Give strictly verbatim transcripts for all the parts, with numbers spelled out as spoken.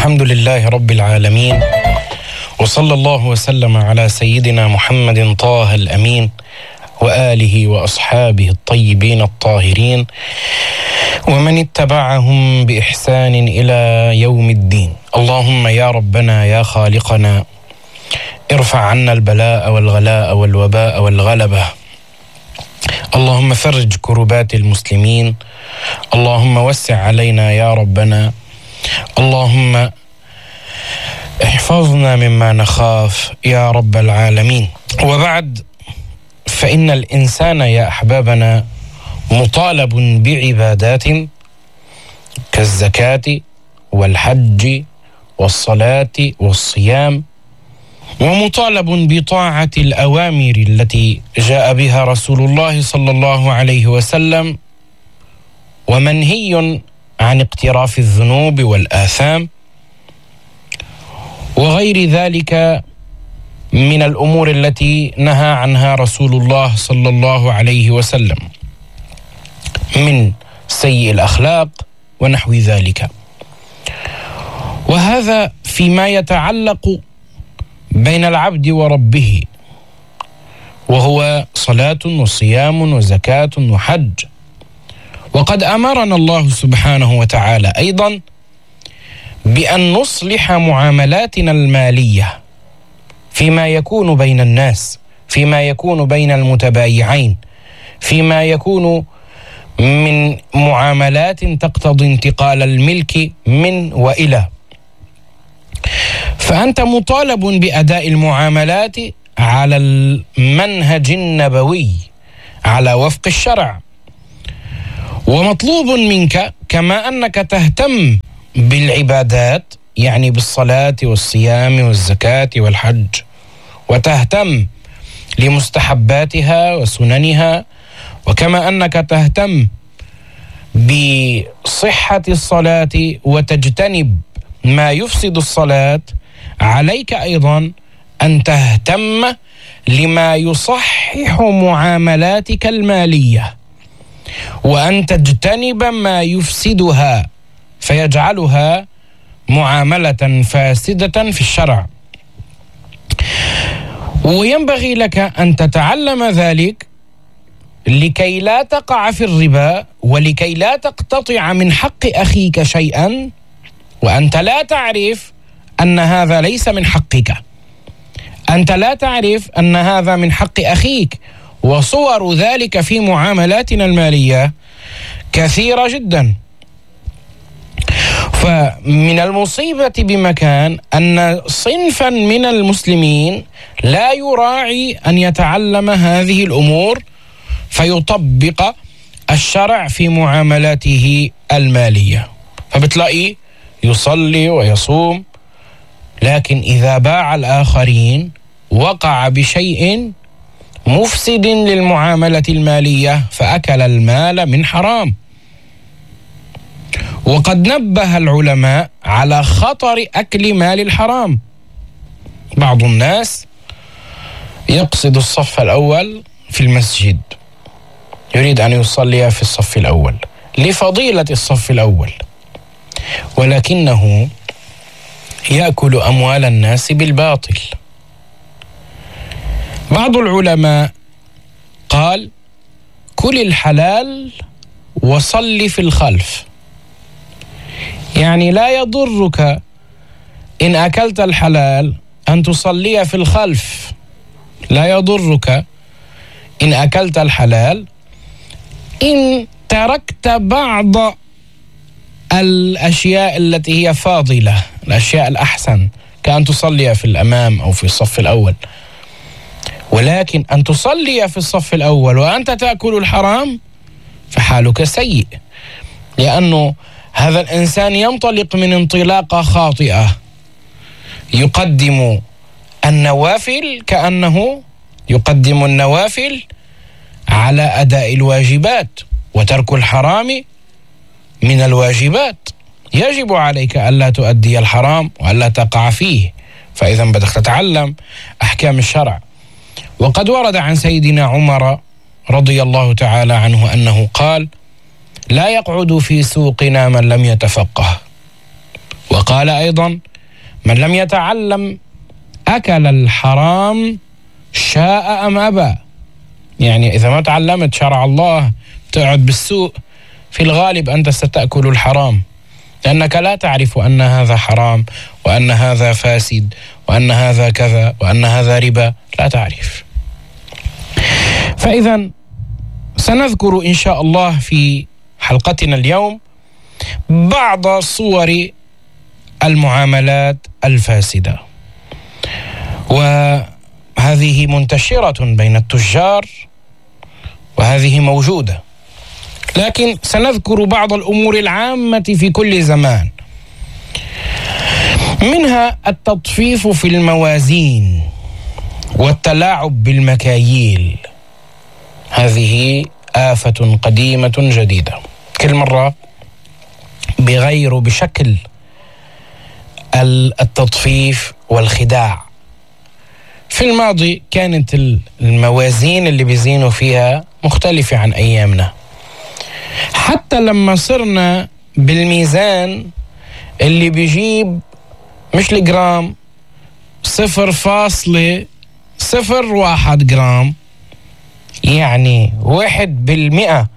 الحمد لله رب العالمين، وصلى الله وسلم على سيدنا محمد طه الأمين وآله وأصحابه الطيبين الطاهرين ومن اتبعهم بإحسان إلى يوم الدين. اللهم يا ربنا يا خالقنا ارفع عنا البلاء والغلاء والوباء والغلبة. اللهم فرج كربات المسلمين. اللهم وسع علينا يا ربنا. اللهم احفظنا مما نخاف يا رب العالمين. وبعد، فإن الإنسان يا أحبابنا مطالب بعبادات كالزكاة والحج والصلاة والصيام، ومطالب بطاعة الأوامر التي جاء بها رسول الله صلى الله عليه وسلم، ومنهي عن اقتراف الذنوب والآثام وغير ذلك من الأمور التي نهى عنها رسول الله صلى الله عليه وسلم من سيء الأخلاق ونحو ذلك. وهذا فيما يتعلق بين العبد وربه، وهو صلاة وصيام وزكاة وحج. وقد أمرنا الله سبحانه وتعالى أيضا بأن نصلح معاملاتنا المالية فيما يكون بين الناس، فيما يكون بين المتبايعين، فيما يكون من معاملات تقتضي انتقال الملك من وإلى. فأنت مطالب بأداء المعاملات على المنهج النبوي على وفق الشرع، ومطلوب منك كما أنك تهتم بالعبادات، يعني بالصلاة والصيام والزكاة والحج، وتهتم لمستحباتها وسننها، وكما أنك تهتم بصحة الصلاة وتجتنب ما يفسد الصلاة، عليك أيضا أن تهتم لما يصحح معاملاتك المالية، وأن تجتنب ما يفسدها فيجعلها معاملة فاسدة في الشرع. وينبغي لك أن تتعلم ذلك لكي لا تقع في الربا، ولكي لا تقتطع من حق أخيك شيئا وأنت لا تعرف أن هذا ليس من حقك، أنت لا تعرف أن هذا من حق أخيك. وصور ذلك في معاملاتنا المالية كثيرة جدا. فمن المصيبة بمكان أن صنفا من المسلمين لا يراعي أن يتعلم هذه الأمور فيطبق الشرع في معاملاته المالية، فبتلاقيه يصلي ويصوم، لكن إذا باع الآخرين وقع بشيء مفسد للمعاملة المالية فأكل المال من حرام. وقد نبه العلماء على خطر أكل مال الحرام. بعض الناس يقصد الصف الأول في المسجد، يريد أن يصلي في الصف الأول لفضيلة الصف الأول، ولكنه يأكل أموال الناس بالباطل. بعض العلماء قال: كل الحلال وصل في الخلف، يعني لا يضرك إن أكلت الحلال أن تصلي في الخلف، لا يضرك إن أكلت الحلال إن تركت بعض الأشياء التي هي فاضلة، الأشياء الأحسن، كأن تصلي في الأمام أو في الصف الأول. ولكن أن تصلي في الصف الأول وأنت تأكل الحرام فحالك سيء، لأنه هذا الإنسان ينطلق من انطلاقة خاطئة، يقدم النوافل كأنه يقدم النوافل على أداء الواجبات، وترك الحرام من الواجبات. يجب عليك ألا تؤدي الحرام وألا تقع فيه، فإذا بدك تتعلم أحكام الشرع. وقد ورد عن سيدنا عمر رضي الله تعالى عنه أنه قال: لا يقعد في سوقنا من لم يتفقه. وقال أيضا: من لم يتعلم أكل الحرام شاء أم أبى. يعني إذا ما تعلمت شرع الله تقعد بالسوق، في الغالب أنت ستأكل الحرام، لأنك لا تعرف أن هذا حرام وأن هذا فاسد وأن هذا كذا وأن هذا ربا، لا تعرف. فإذا سنذكر إن شاء الله في حلقتنا اليوم بعض صور المعاملات الفاسدة، وهذه منتشرة بين التجار وهذه موجودة، لكن سنذكر بعض الأمور العامة في كل زمان. منها التطفيف في الموازين والتلاعب بالمكاييل، هذه آفة قديمة جديدة، كل مرة بغير بشكل التطفيف والخداع. في الماضي كانت الموازين اللي بيزينوا فيها مختلفة عن أيامنا، حتى لما صرنا بالميزان اللي بيجيب مش الجرام، صفر فاصلة صفر واحد جرام، يعني واحد بالمئة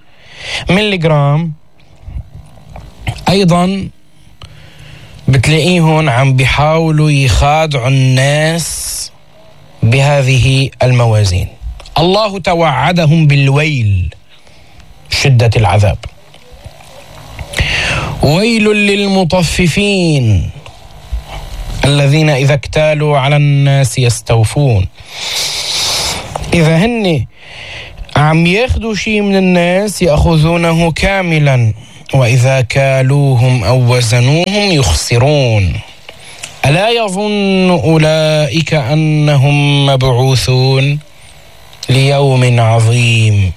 ملي جرام، أيضا بتلاقيهم عم بيحاولوا يخادعوا الناس بهذه الموازين. الله توعدهم بالويل، شدة العذاب. ويل للمطففين الذين إذا اكتالوا على الناس يستوفون. إذا هن عم ياخدوا شيء من الناس يأخذونه كاملا، وإذا كالوهم أو وزنوهم يخسرون. ألا يظن أولئك أنهم مبعوثون ليوم عظيم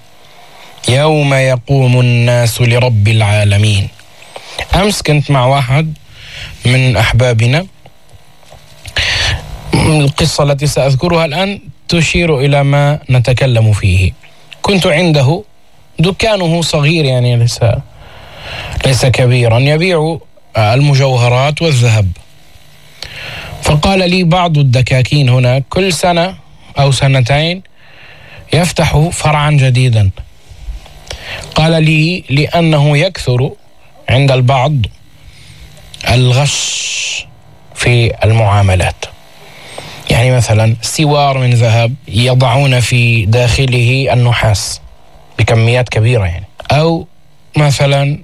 يوم يقوم الناس لرب العالمين. أمس كنت مع واحد من أحبابنا، القصة التي سأذكرها الآن تشير إلى ما نتكلم فيه. كنت عنده، دكانه صغير يعني ليس ليس كبيرا، يبيع المجوهرات والذهب. فقال لي بعض الدكاكين هناك كل سنة أو سنتين يفتح فرعا جديدا. قال لي لأنه يكثر عند البعض الغش في المعاملات. يعني مثلا سوار من ذهب يضعون في داخله النحاس بكميات كبيرة، يعني أو مثلا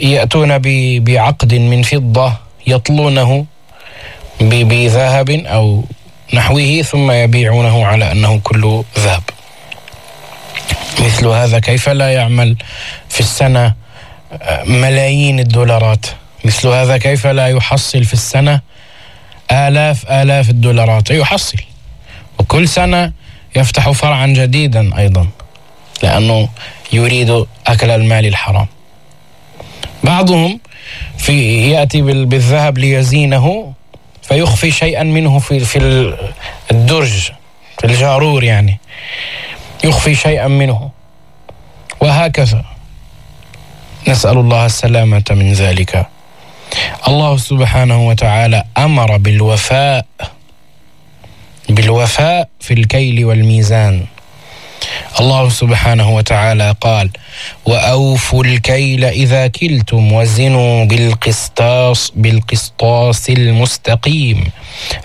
يأتون بعقد من فضة يطلونه بذهب أو نحوه ثم يبيعونه على أنه كله ذهب. مثل هذا كيف لا يعمل في السنة ملايين الدولارات؟ مثل هذا كيف لا يحصل في السنة آلاف آلاف الدولارات؟ يحصل، وكل سنة يفتح فرعا جديدا أيضا، لأنه يريد أكل المال الحرام. بعضهم في يأتي بالذهب ليزينه فيخفي شيئا منه في في الدرج، في الجارور، يعني يخفي شيئا منه، وهكذا. نسأل الله السلامة من ذلك. الله سبحانه وتعالى أمر بالوفاء بالوفاء في الكيل والميزان. الله سبحانه وتعالى قال: وأوفوا الكيل إذا كلتم وزنوا بالقسطاس بالقسطاس المستقيم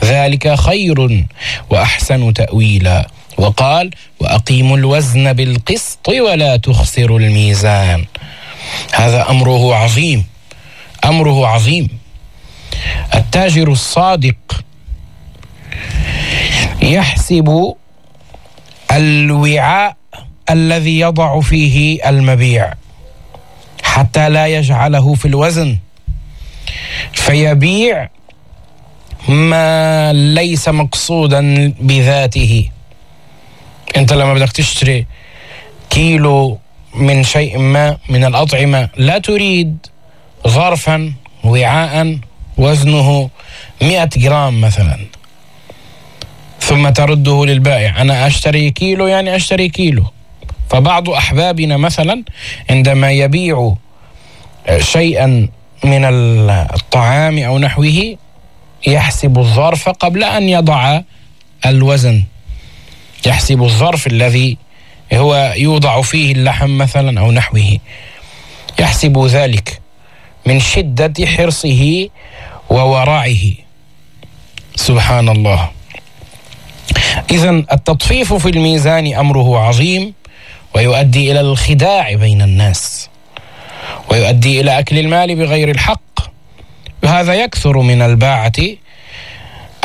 ذلك خير وأحسن تأويلا. وقال: وأقيموا الوزن بالقسط ولا تخسروا الميزان. هذا أمره عظيم، أمره عظيم. التاجر الصادق يحسب الوعاء الذي يضع فيه المبيع حتى لا يجعله في الوزن فيبيع ما ليس مقصودا بذاته. انت لما بدك تشتري كيلو من شيء ما من الأطعمة لا تريد ظرفا وعاء وزنه مئة جرام مثلا ثم ترده للبائع. أنا أشتري كيلو يعني أشتري كيلو. فبعض أحبابنا مثلا عندما يبيع شيئا من الطعام أو نحوه يحسب الظرف قبل أن يضع الوزن، يحسب الظرف الذي هو يوضع فيه اللحم مثلا أو نحوه، يحسب ذلك من شدة حرصه وورعه. سبحان الله. إذن التطفيف في الميزان أمره عظيم، ويؤدي إلى الخداع بين الناس، ويؤدي إلى أكل المال بغير الحق. وهذا يكثر من الباعة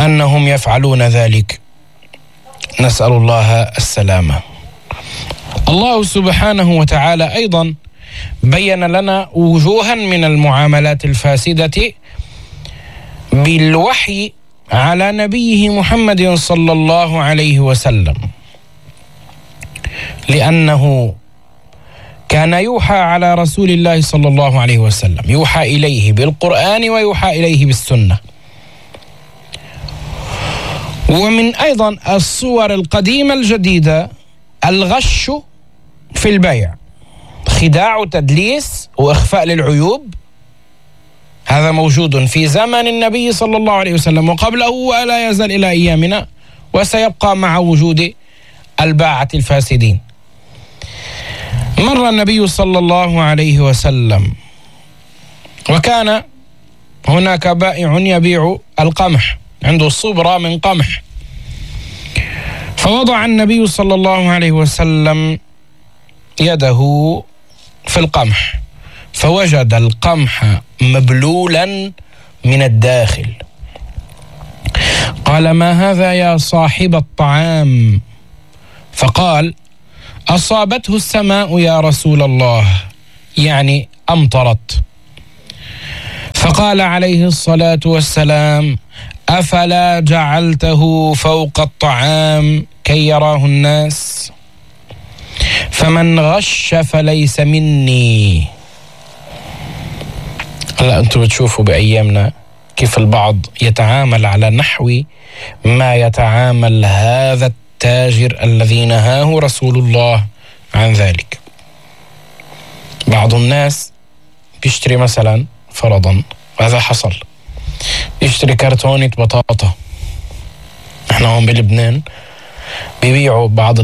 أنهم يفعلون ذلك، نسأل الله السلامة. الله سبحانه وتعالى أيضا بين لنا وجوها من المعاملات الفاسدة بالوحي على نبيه محمد صلى الله عليه وسلم، لأنه كان يوحى على رسول الله صلى الله عليه وسلم، يوحى إليه بالقرآن ويوحى إليه بالسنة. ومن أيضا الصور القديمة الجديدة الغش في البيع، خداع وتدليس وإخفاء للعيوب، هذا موجود في زمن النبي صلى الله عليه وسلم وقبله، ولا يزال إلى أيامنا، وسيبقى مع وجود الباعة الفاسدين. مر النبي صلى الله عليه وسلم وكان هناك بائع يبيع القمح، عنده صبرة من قمح، فوضع النبي صلى الله عليه وسلم يده في القمح، فوجد القمح مبلولا من الداخل. قال: ما هذا يا صاحب الطعام؟ فقال: أصابته السماء يا رسول الله، يعني أمطرت. فقال عليه الصلاة والسلام: أفلا جعلته فوق الطعام كي يراه الناس؟ فمن غش فليس مني. هلا أنتم بتشوفوا بأيامنا كيف البعض يتعامل على نحو ما يتعامل هذا التاجر الذي نهاه رسول الله عن ذلك. بعض الناس بيشتري مثلا فرضا، هذا حصل، يشتري كرتونة بطاطا. احنا هون بلبنان بيبيعوا بعض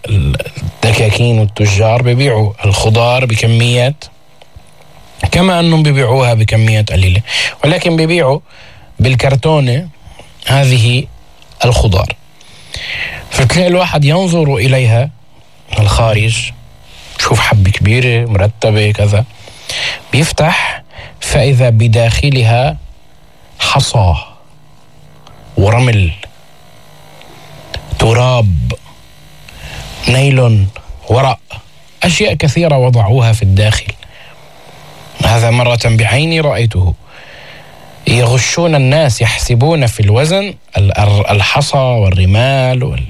الدكاكين والتجار بيبيعوا الخضار بكميات، كما أنهم بيبيعوها بكميات قليلة، ولكن بيبيعوا بالكرتونة هذه الخضار. فتلاقي الواحد ينظر إليها من الخارج، شوف حبة كبيرة مرتبة كذا، بيفتح فإذا بداخلها حصى ورمل، تراب، نيلون، ورق، أشياء كثيرة وضعوها في الداخل. هذا مرة بعيني رأيته. يغشون الناس، يحسبون في الوزن الحصى والرمال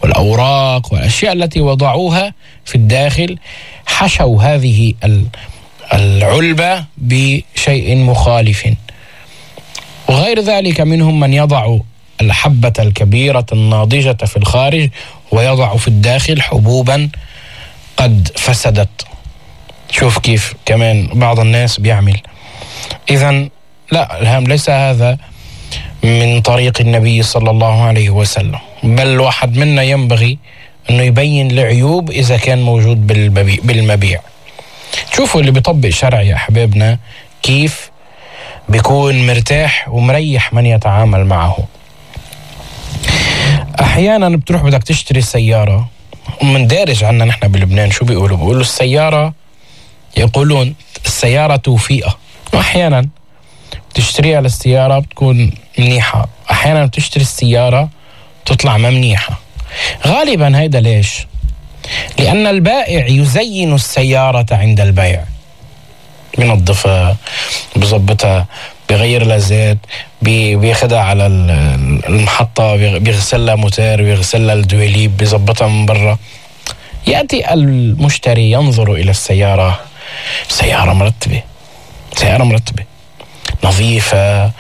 والأوراق والأشياء التي وضعوها في الداخل، حشوا هذه العلبة بشيء مخالف. وغير ذلك منهم من يضع الحبة الكبيرة الناضجة في الخارج ويضع في الداخل حبوبا قد فسدت. شوف كيف كمان بعض الناس بيعمل. إذن لا، الهام ليس هذا من طريق النبي صلى الله عليه وسلم، بل واحد منا ينبغي أنه يبين العيوب إذا كان موجود بالمبيع. شوفوا اللي بيطبق شرع يا أحبابنا كيف بيكون مرتاح ومريح من يتعامل معه. أحيانا بتروح بدك تشتري سيارة، ومن دارج عنا نحن بلبنان شو بيقولوا؟ بيقولوا السيارة، يقولون السيارة توفيقة. وأحيانا تشتريها للسيارة بتكون منيحة، أحيانا بتشتري السيارة تطلع ما منيحة. غالبا هيدا ليش؟ لأن البائع يزين السيارة عند البيع، بينظفها، بيظبطها، بيغير لها زيت، بياخدها على المحطة، بيغسل لها موتور، بيغسل لها الدواليب، بيظبطها من برا. يأتي المشتري ينظر إلى السيارة، سيارة مرتبة، سيارة مرتبة نظيفة،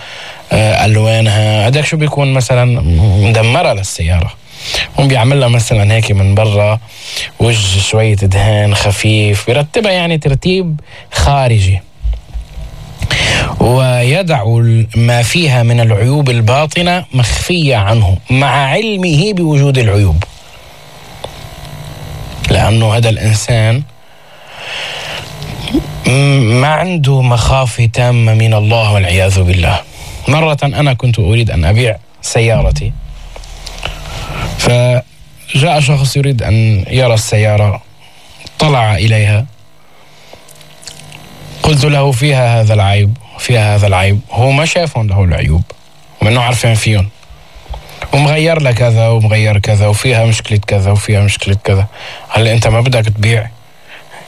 ألوانها، هداك شو بيكون مثلا مدمرة للسيارة، هم بيعملها مثلا هيك من برا وجه شوية دهان خفيف، بيرتبها يعني ترتيب خارجي. ويدع ما فيها من العيوب الباطنة مخفية عنه مع علمه بوجود العيوب، لأنه هذا الإنسان ما عنده مخافة تامة من الله والعياذ بالله. مرة أنا كنت أريد أن أبيع سيارتي، فجاء شخص يريد أن يرى السيارة، طلع إليها، قلت له فيها هذا العيب فيها هذا العيب، هو ما شافهم له العيوب ومنه عارفين فيهم، ومغير لك كذا ومغير كذا وفيها مشكلة كذا وفيها مشكلة كذا. هل أنت ما بدك تبيع؟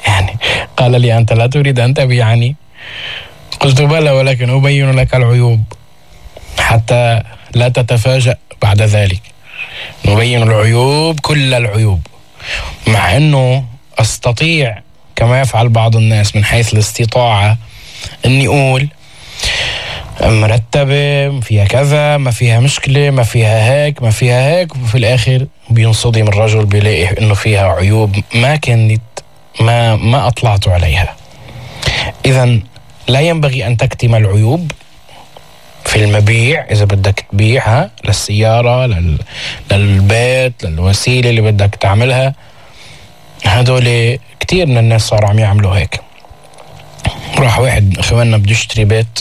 يعني قال لي أنت لا تريد أن تبيعني؟ قلت بلى، ولكن أبين لك العيوب حتى لا تتفاجأ بعد ذلك. نبين العيوب، كل العيوب، مع أنه أستطيع كما يفعل بعض الناس من حيث الاستطاعة أني أقول مرتبة، فيها كذا، ما فيها مشكلة، ما فيها هيك، ما فيها هيك، وفي الآخر بينصدم الرجل بيلاقي أنه فيها عيوب ما كانت ما ما أطلعت عليها. إذن لا ينبغي أن تكتم العيوب في المبيع إذا بدك تبيعها للسيارة، لل... للبيت، للوسيلة اللي بدك تعملها. هدول كتير من الناس صاروا عم يعملوا هيك. راح واحد اخواننا بده يشتري بيت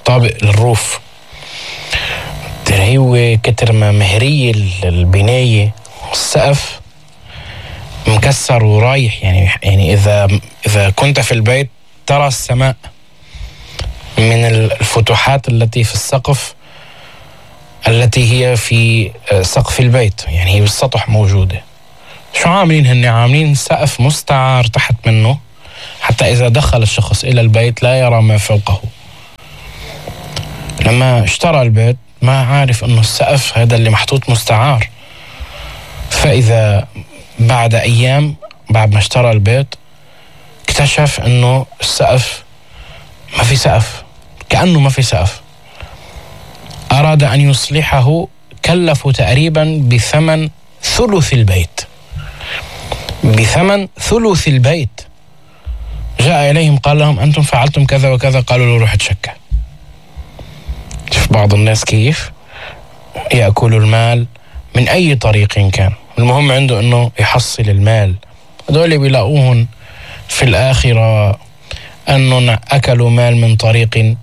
طابق للروف، هو كتر ما مهرية البناية والسقف مكسر ورايح، يعني يعني إذا إذا كنت في البيت ترى السماء من الفتحات التي في السقف التي هي في سقف البيت، يعني هي بالسطح موجودة. شو عاملين هن؟ عاملين سقف مستعار تحت منه حتى إذا دخل الشخص إلى البيت لا يرى ما فوقه. لما اشترى البيت ما عارف أنه السقف هذا اللي محطوط مستعار، فإذا بعد أيام بعد ما اشترى البيت اكتشف أنه السقف ما في سقف، كأنه ما في سقف. أراد أن يصلحه، كلفه تقريبا بثمن ثلث البيت، بثمن ثلث البيت. جاء إليهم قال لهم أنتم فعلتم كذا وكذا، قالوا له روح تشكى. شوف بعض الناس كيف يأكلوا المال من أي طريق كان، المهم عنده أنه يحصل المال. هذول بيلاقوهن في الآخرة أنهم أكلوا مال من طريق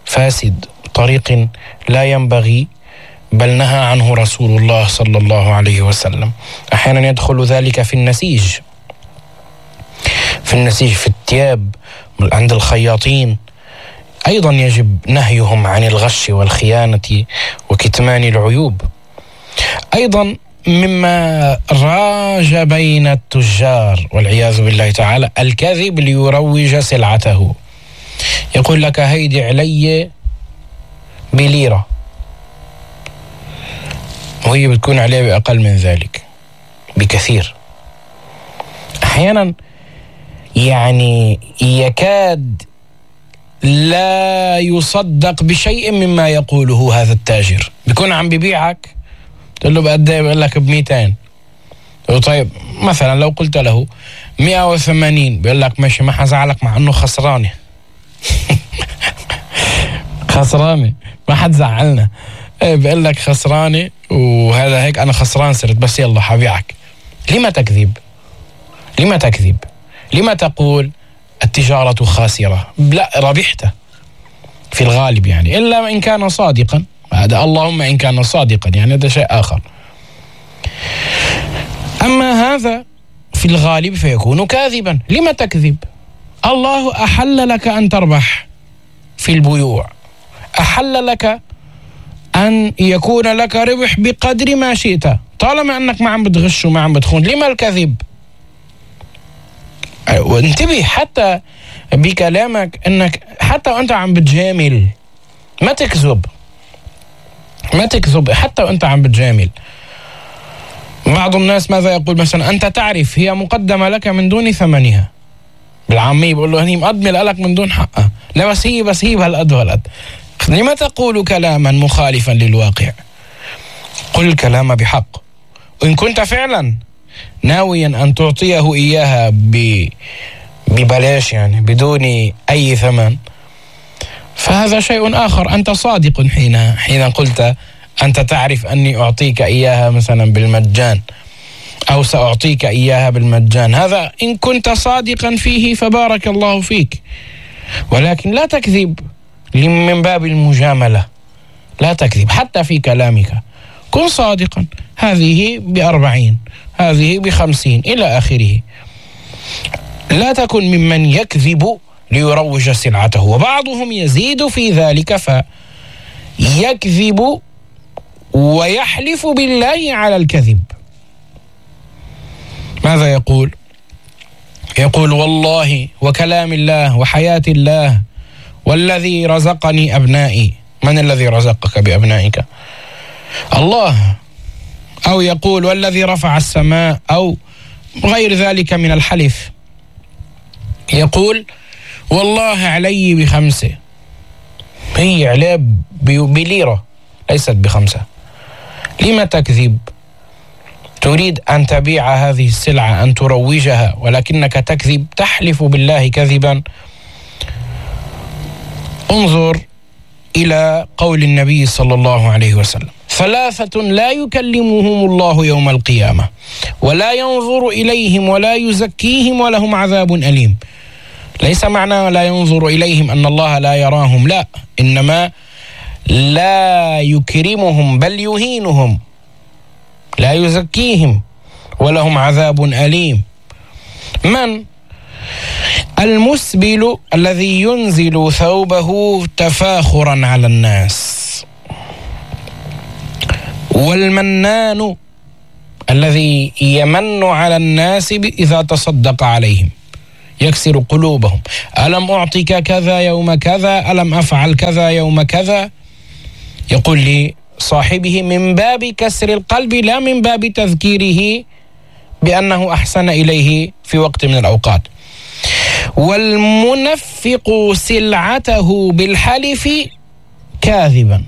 فاسد، طريق لا ينبغي، بل نهى عنه رسول الله صلى الله عليه وسلم. أحيانا يدخل ذلك في النسيج، في النسيج في الثياب عند الخياطين، أيضا يجب نهيهم عن الغش والخيانة وكتمان العيوب. أيضا مما راج بين التجار والعياذ بالله تعالى الكذب ليروج سلعته. يقول لك هيدي علي بليرة وهي بتكون عليه بأقل من ذلك بكثير. أحيانا يعني يكاد لا يصدق بشيء مما يقوله هذا التاجر. بيكون عم بيبيعك تقول له بقد ايه؟ بيقول لك بميتين. طيب مثلا لو قلت له مئة وثمانين بيقول لك ماشي ما حزعلك، مع انه خسرانه خسرانه ما حد زعلنا. ايه بيقول لك خسرانه وهذا هيك انا خسران صرت، بس يلا حبيعك. لما تكذب؟ لما تكذب؟ لما تقول التجارة خاسرة؟ لا، ربحت في الغالب، يعني إلا إن كان صادقا، هذا اللهم إن كان صادقا، يعني هذا شيء آخر. أما هذا في الغالب فيكون كاذبا. لما تكذب؟ الله أحل لك أن تربح في البيوع، أحل لك أن يكون لك ربح بقدر ما شئت، طالما أنك ما عم بتغش وما عم بتخون. لما الكذب؟ وانتبه حتى بكلامك انك حتى وانت عم بتجامل ما تكذب، ما تكذب حتى وانت عم بتجامل. بعض الناس ماذا يقول؟ مثلا انت تعرف هي مقدمة لك من دون ثمنها، بالعامية بقول له هني مقدمة لك من دون حقها. لا بس هي بس هي بهالقد وهالقد. لما تقول كلاما مخالفا للواقع؟ قل الكلام بحق. وإن كنت فعلا ناويا أن تعطيه إياها ببلاش، يعني بدون أي ثمن، فهذا شيء آخر. أنت صادق حين حين قلت أنت تعرف أني أعطيك إياها مثلا بالمجان أو سأعطيك إياها بالمجان، هذا إن كنت صادقا فيه فبارك الله فيك، ولكن لا تكذب من باب المجاملة، لا تكذب حتى في كلامك، كن صادقا. هذه بأربعين، هذه بخمسين إلى آخره. لا تكن ممن يكذب ليروج سلعته، وبعضهم يزيد في ذلك فيكذب ويحلف بالله على الكذب. ماذا يقول؟ يقول والله وكلام الله وحياة الله والذي رزقني أبنائي. من الذي رزقك بأبنائك؟ الله. أو يقول والذي رفع السماء، أو غير ذلك من الحلف. يقول والله علي بخمسة، هي عليه بليرة ليست بخمسة. لما تكذب؟ تريد أن تبيع هذه السلعة، أن تروجها، ولكنك تكذب، تحلف بالله كذبا. انظر إلى قول النبي صلى الله عليه وسلم: ثلاثة لا يكلمهم الله يوم القيامة ولا ينظر إليهم ولا يزكيهم ولهم عذاب أليم. ليس معنى لا ينظر إليهم أن الله لا يراهم، لا، إنما لا يكرمهم بل يهينهم، لا يزكيهم ولهم عذاب أليم. من؟ المسبل الذي ينزل ثوبه تفاخرا على الناس، والمنان الذي يمن على الناس إذا تصدق عليهم، يكسر قلوبهم. ألم أعطيك كذا يوم كذا، ألم أفعل كذا يوم كذا. يقول لصاحبه من باب كسر القلب لا من باب تذكيره بأنه أحسن إليه في وقت من الأوقات. والمنفق سلعته بالحلف كاذبا،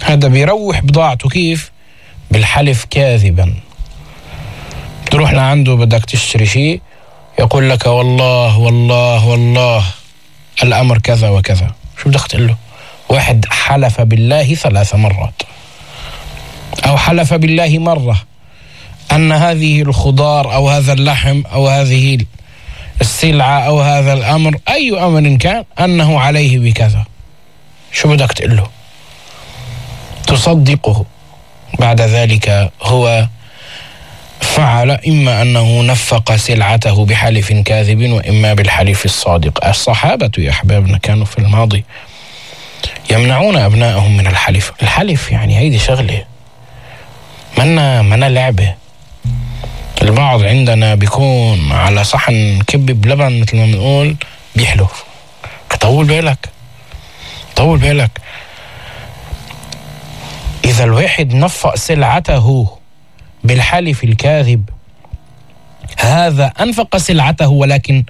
هذا بيروح بضاعته كيف؟ بالحلف كاذبا. تروح لعنده بدك تشتري شيء، يقول لك والله والله والله الأمر كذا وكذا. شو بدك تقول له؟ واحد حلف بالله ثلاث مرات أو حلف بالله مرة أن هذه الخضار أو هذا اللحم أو هذه السلعة أو هذا الأمر، أي أمر كان، أنه عليه بكذا. شو بدك تقول له؟ تصدقه. بعد ذلك هو فعل إما أنه نفق سلعته بحلف كاذب وإما بالحلف الصادق. الصحابة يا أحبابنا كانوا في الماضي يمنعون أبنائهم من الحلف. الحلف يعني هيدي شغلة منا منا لعبة. البعض عندنا بيكون على صحن كبة بلبن مثل ما بنقول بيحلف. طول بالك، طول بالك. إذا الواحد نفق سلعته بالحلف الكاذب، هذا أنفق سلعته ولكن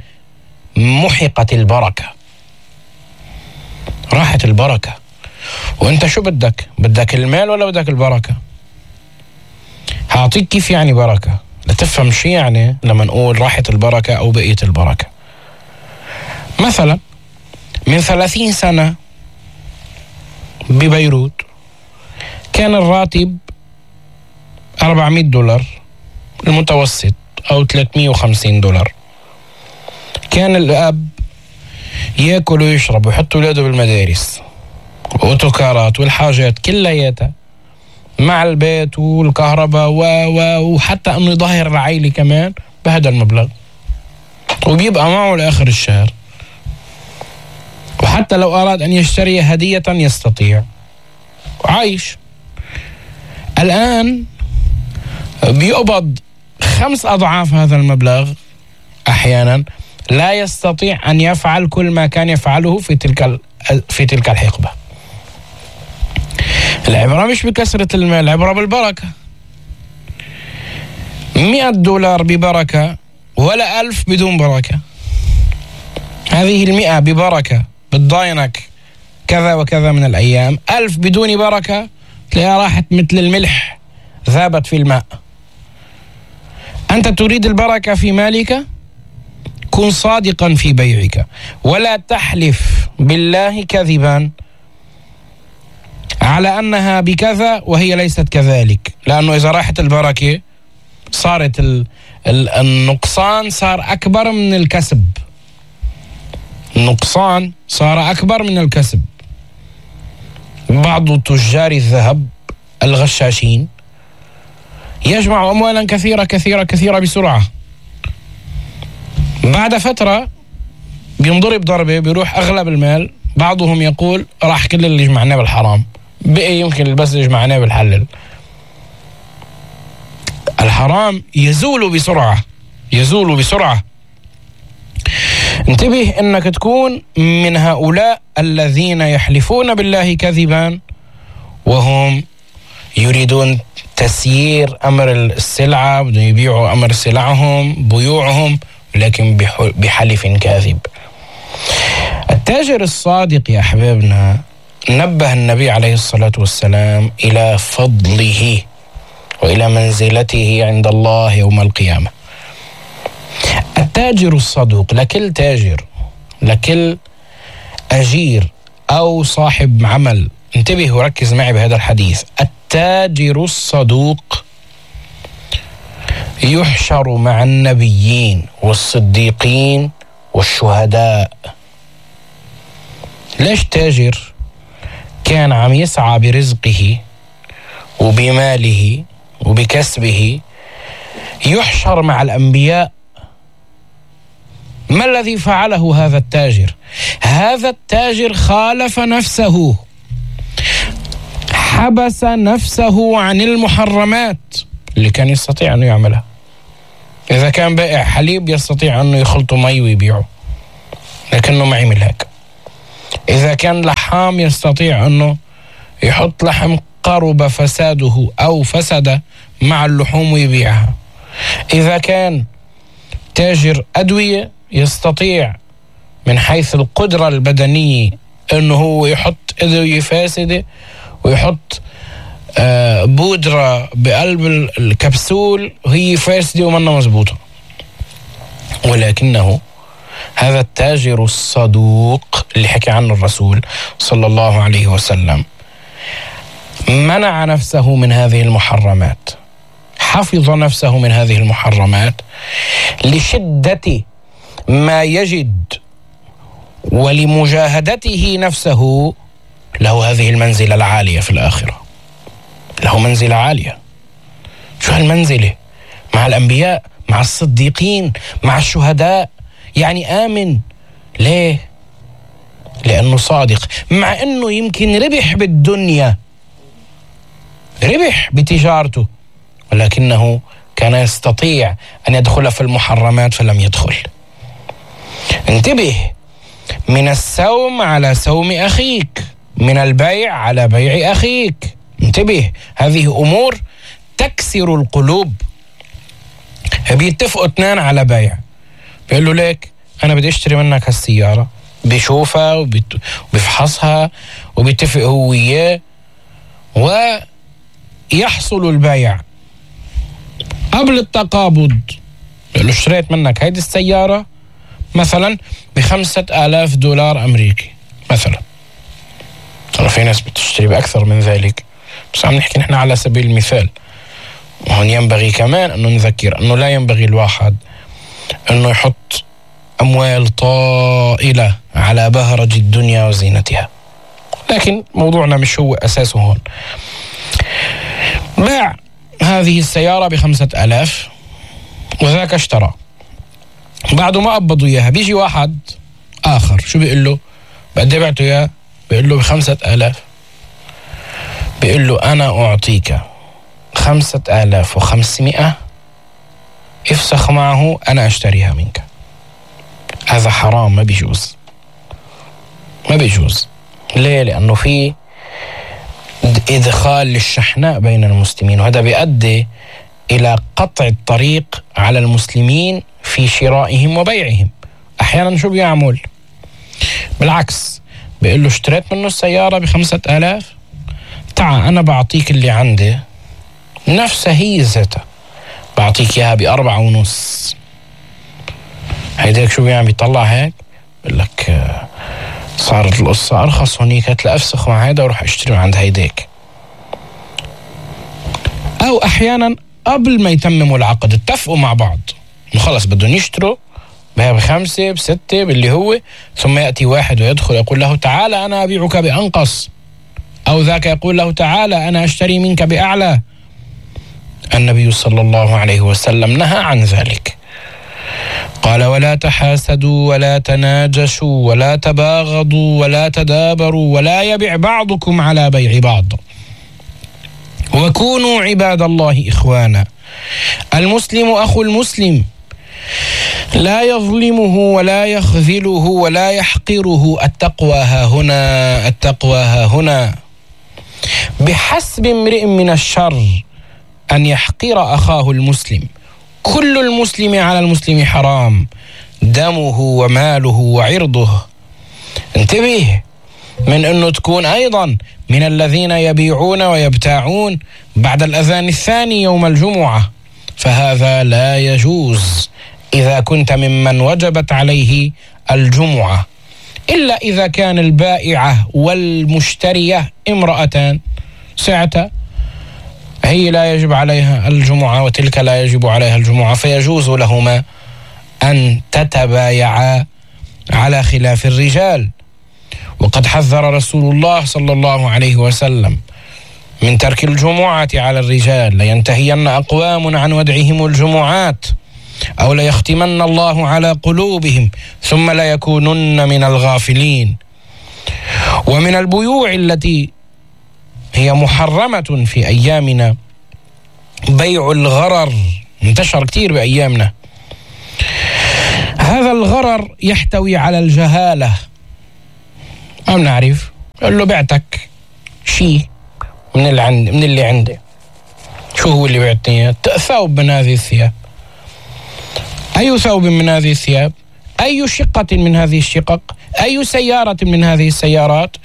محقت البركة، راحت البركة. وانت شو بدك؟ بدك المال ولا بدك البركة؟ هعطيك كيف يعني بركة لتفهم شي يعني لما نقول راحت البركة أو بقيت البركة. مثلا من ثلاثين سنة ببيروت كان الراتب أربعمائة دولار المتوسط أو ثلاثمائة وخمسين دولار. كان الأب يأكل ويشرب ويحط ولاده بالمدارس وأوتوكارات والحاجات كلياتها مع البيت والكهرباء و و وحتى أنه يظهر العائلة كمان بهذا المبلغ، وبيبقى معه لآخر الشهر، وحتى لو أراد أن يشتري هدية يستطيع، عايش. الآن بيقبض خمس أضعاف هذا المبلغ أحيانا، لا يستطيع أن يفعل كل ما كان يفعله في تلك في تلك الحقبة. العبرة مش بكثرة المال، العبرة بالبركة. مئة دولار ببركة ولا ألف بدون بركة. هذه المئة ببركة بتضاينك كذا وكذا من الأيام، ألف بدون بركة تلاقيها راحت مثل الملح ذابت في الماء. أنت تريد البركة في مالك؟ كن صادقا في بيعك ولا تحلف بالله كذبا على أنها بكذا وهي ليست كذلك، لأنه إذا راحت البركة صارت ال ال النقصان صار أكبر من الكسب. النقصان صار أكبر من الكسب. بعض تجار الذهب الغشاشين يجمع أموالا كثيرة كثيرة كثيرة بسرعة، بعد فترة بينضرب ضربة بيروح أغلب المال. بعضهم يقول راح كل اللي جمعناه بالحرام، بقي يمكن بس اللي جمعناه بالحلال. الحرام يزول بسرعة، يزول بسرعة. انتبه انك تكون من هؤلاء الذين يحلفون بالله كذبا وهم يريدون تسيير أمر السلعة، بدهم يبيعوا أمر سلعهم بيوعهم لكن بحلف كاذب. التاجر الصادق يا أحبابنا نبه النبي عليه الصلاة والسلام إلى فضله وإلى منزلته عند الله يوم القيامة. التاجر الصدوق، لكل تاجر لكل أجير أو صاحب عمل، انتبه وركز معي بهذا الحديث. التاجر الصدوق يحشر مع النبيين والصديقين والشهداء. ليش تاجر كان عم يسعى برزقه وبماله وبكسبه يحشر مع الأنبياء؟ ما الذي فعله هذا التاجر؟ هذا التاجر خالف نفسه، حبس نفسه عن المحرمات اللي كان يستطيع أنه يعملها. إذا كان بائع حليب يستطيع أنه يخلطه مي ويبيعه، لكنه ما عمل هيك. إذا كان لحام يستطيع أنه يحط لحم قرب فساده أو فسد مع اللحوم ويبيعها. إذا كان تاجر أدوية يستطيع من حيث القدرة البدنية أنه هو يحط أدوية فاسدة ويحط آه بودرة بقلب الكبسول وهي فاسدة ومنها مزبوطة. ولكنه هذا التاجر الصدوق اللي حكى عنه الرسول صلى الله عليه وسلم منع نفسه من هذه المحرمات، حفظ نفسه من هذه المحرمات لشدة ما يجد ولمجاهدته نفسه. له هذه المنزلة العالية في الآخرة، له منزلة عالية. شو هالمنزلة؟ مع الأنبياء، مع الصديقين، مع الشهداء، يعني آمن. ليه؟ لأنه صادق، مع أنه يمكن ربح بالدنيا، ربح بتجارته، ولكنه كان يستطيع أن يدخل في المحرمات فلم يدخل. انتبه، من السوم على سوم أخيك، من البيع على بيع أخيك. انتبه، هذه أمور تكسر القلوب. بيتفقوا اثنان على بيع، بيقول له ليك أنا بدي أشتري منك هالسيارة، بيشوفها وبيفحصها وبيتفق هو وياه ويحصل البيع. قبل التقابض بيقول له اشتريت منك هيدي السيارة مثلا بخمسة آلاف دولار أمريكي مثلا. ترى في ناس بتشتري بأكثر من ذلك، بس عم نحكي نحن على سبيل المثال. وهون ينبغي كمان أنه نذكر أنه لا ينبغي الواحد أنه يحط أموال طائلة على بهرج الدنيا وزينتها، لكن موضوعنا مش هو أساسه هون. باع هذه السيارة بخمسة آلاف وذاك اشترى. بعد ما قبضوا إياها بيجي واحد آخر، شو بيقول له؟ بقد ايه بعته إياه؟ بيقول له بخمسة آلاف. بيقول له أنا أعطيك خمسة آلاف وخمسمائة، افسخ معه أنا أشتريها منك. هذا حرام، ما بيجوز، ما بيجوز. ليه؟ لأنه في إدخال للشحناء بين المسلمين، وهذا بيؤدي إلى قطع الطريق على المسلمين في شرائهم وبيعهم. أحيانا شو بيعمل؟ بالعكس، بيقول له اشتريت منه السيارة بخمسة آلاف، تعال أنا بعطيك اللي عندي نفسها هي ذاتها، بعطيك إياها بأربعة ونص. هيداك شو بيعمل؟ بيطلع هيك بيقول لك صارت القصة أرخص هونيك، هات لأفسخ مع هيدا وروح اشتري من عند هيداك. أو أحيانا قبل ما يتمموا العقد اتفقوا مع بعض خلص بدهم يشتروا بخمسة بستة باللي هو، ثم يأتي واحد ويدخل يقول له تعالى أنا أبيعك بأنقص، أو ذاك يقول له تعالى أنا أشتري منك بأعلى. النبي صلى الله عليه وسلم نهى عن ذلك، قال ولا تحاسدوا ولا تناجشوا ولا تباغضوا ولا تدابروا ولا يبيع بعضكم على بيع بعض، وكونوا عباد الله إخوانا. المسلم أخو المسلم لا يظلمه ولا يخذله ولا يحقره. التقوى ها هنا، التقوى ها هنا. بحسب امرئ من الشر أن يحقر أخاه المسلم. كل المسلم على المسلم حرام، دمه وماله وعرضه. انتبه من أنه تكون أيضا من الذين يبيعون ويبتاعون بعد الأذان الثاني يوم الجمعة، فهذا لا يجوز إذا كنت ممن وجبت عليه الجمعة، إلا إذا كان البائعة والمشترية امرأتان، ساعتها هي لا يجب عليها الجمعة وتلك لا يجب عليها الجمعة، فيجوز لهما أن تتبايعا على خلاف الرجال. وقد حذر رسول الله صلى الله عليه وسلم من ترك الجمعة على الرجال، لينتهين أقوام عن ودعهم الجمعات أو ليختمن الله على قلوبهم ثم لا يكونن من الغافلين. ومن البيوع التي هي محرمة في أيامنا بيع الغرر، انتشر كتير بأيامنا. هذا الغرر يحتوي على الجهالة، ما بنعرف، قال له بعتك شيء من اللي عندي من اللي عندي، شو هو اللي بعتني؟ ثوب من هذه الثياب. أي ثوب من هذه الثياب؟ أي شقة من هذه الشقق؟ أي سيارة من هذه السيارات؟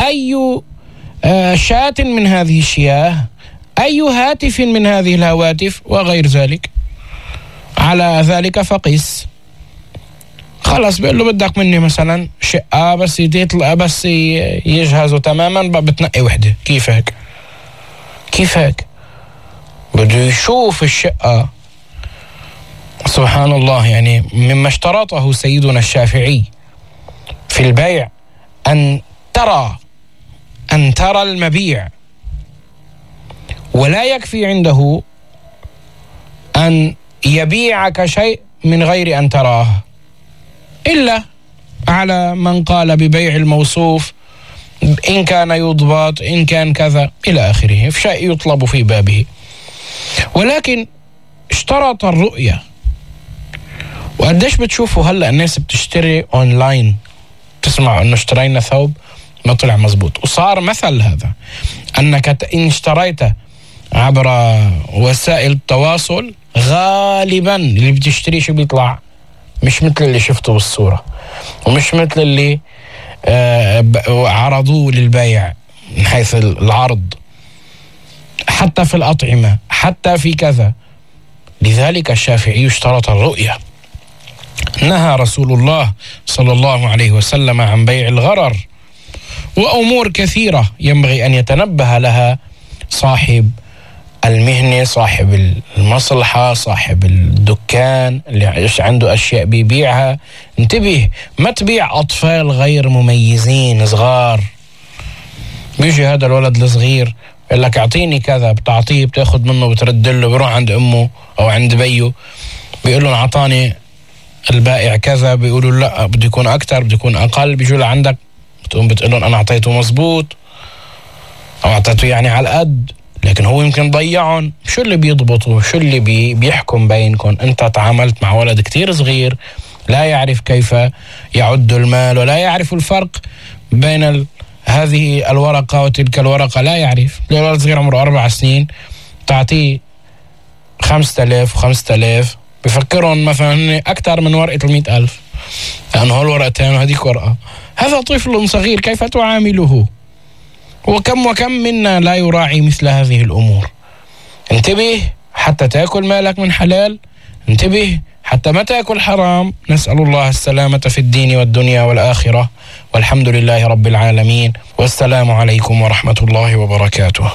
أي شاة من هذه الشياه؟ أي هاتف من هذه الهواتف؟ وغير ذلك. على ذلك فقس. خلاص بيقول له بدك مني مثلا شقة بس يطلع بس يجهزوا تماما بتنقي وحدة. كيف هيك؟ كيف هيك؟ بده يشوف الشقة. سبحان الله، يعني مما اشترطه سيدنا الشافعي في البيع أن ترى أن ترى المبيع، ولا يكفي عنده أن يبيعك شيء من غير أن تراه، إلا على من قال ببيع الموصوف إن كان يضبط إن كان كذا إلى آخره، في شيء يطلب في بابه. ولكن اشترط الرؤية. وقديش بتشوفوا هلأ الناس بتشتري أونلاين، تسمع أنه اشترينا ثوب ما طلع مزبوط. وصار مثل هذا أنك إن اشتريت عبر وسائل التواصل غالبا اللي بتشتري شو بيطلع مش مثل اللي شفته بالصورة، ومش مثل اللي آه عرضوه للبيع من حيث العرض، حتى في الأطعمة، حتى في كذا. لذلك الشافعي اشترط الرؤية. نهى رسول الله صلى الله عليه وسلم عن بيع الغرر، وأمور كثيرة ينبغي أن يتنبه لها صاحب المهنة، صاحب المصلحة، صاحب الدكان اللي عنده أشياء بيبيعها. انتبه، ما تبيع أطفال غير مميزين صغار. بيجي هذا الولد الصغير يقول لك اعطيني كذا، بتعطيه، بتاخد منه، بترد له، بيروح عند أمه أو عند بيه بيقول له اعطاني البائع كذا، بيقولوا لا بده يكون أكتر، بده يكون أقل. بيجوا لعندك بتقوم بتقول لهم أنا أعطيته مزبوط أو أعطيته يعني على القد، لكن هو يمكن ضيعهم. شو اللي بيضبطوا؟ شو اللي بي بيحكم بينكم؟ أنت تعاملت مع ولد كتير صغير لا يعرف كيف يعد المال، ولا يعرف الفرق بين ال... هذه الورقة وتلك الورقة، لا يعرف. الولد صغير عمره أربع سنين تعطيه خمسة آلاف وخمسة آلاف، بفكرهم مثلا أكثر من ورقة المئة ألف، لأنه هالورقتين وهذيك ورقة. هذا طفل صغير، كيف تعامله؟ وكم وكم منا لا يراعي مثل هذه الأمور. انتبه، حتى تأكل مالك من حلال انتبه حتى ما تأكل حرام. نسأل الله السلامة في الدين والدنيا والآخرة، والحمد لله رب العالمين، والسلام عليكم ورحمة الله وبركاته.